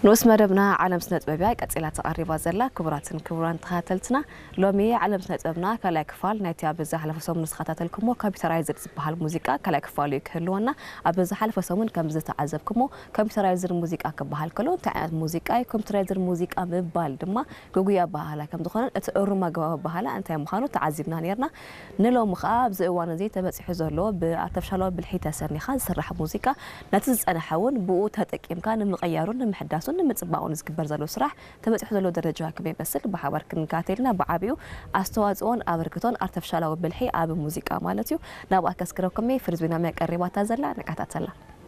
ንኡስ መደብና ዓለም ስነ ጥበብ እያ ቀጺላ ተቐሪባ ዘላ። ክቡራትን ክቡራን ተኸታተልትና፣ ሎሚ ዓለም ስነ ጥበብና ካልኣይ ክፋል ናይቲ ኣብ ዝሓለፈ ሰሙን ዝተኸታተልኩሞ ኮምፒውተራይዝድ ዝበሃል ሙዚቃ ካልኣይ ክፋሉ እዩ ክህልወና። ኣብ ዝሓለፈ ሰሙን ከም ዝተዓዘብኩሞ ኮምፒውተራይዝድ ሙዚቃ ክበሃል ከሎ እንታይ ዓይነት ሙዚቃ እዩ? ኮምፒውተራይዝድ ሙዚቃ ምባል ድማ ግጉይ ኣበሃህላ ከም ዝኾነን እቲ እሩም ኣገባብ ኣበሃህላ እንታይ ምዃኑ ተዓዚብና ነይርና። ንሎሚ ኸኣ ኣብዚ እዋን እዚ ተበጺሑ ዘሎ ብኣርተፍሻላዊ ብልሒ ተሰኒኻ ዝስራሕ ሙዚቃ ነቲ ዝጸንሐ እውን ብኡ ተጠቂምካ ንምቕያሩን ንምሕዳሱን ንምጽባቑን ዝግበር ዘሎ ስራሕ ተበጺሑ ዘሎ ደረጃ ከመይ ይመስል ብሓባር ክንከታተል ኢና። ብዓቢኡ ኣስተዋጽኦን ኣበርክቶን ኣርተፍሻላዊ ብልሒ ኣብ ሙዚቃ ማለት እዩ። ናብኣ ከስክረኩም እየ። ፍርዝቢና መያ ቀሪባታ ዘላ ንከታተላ።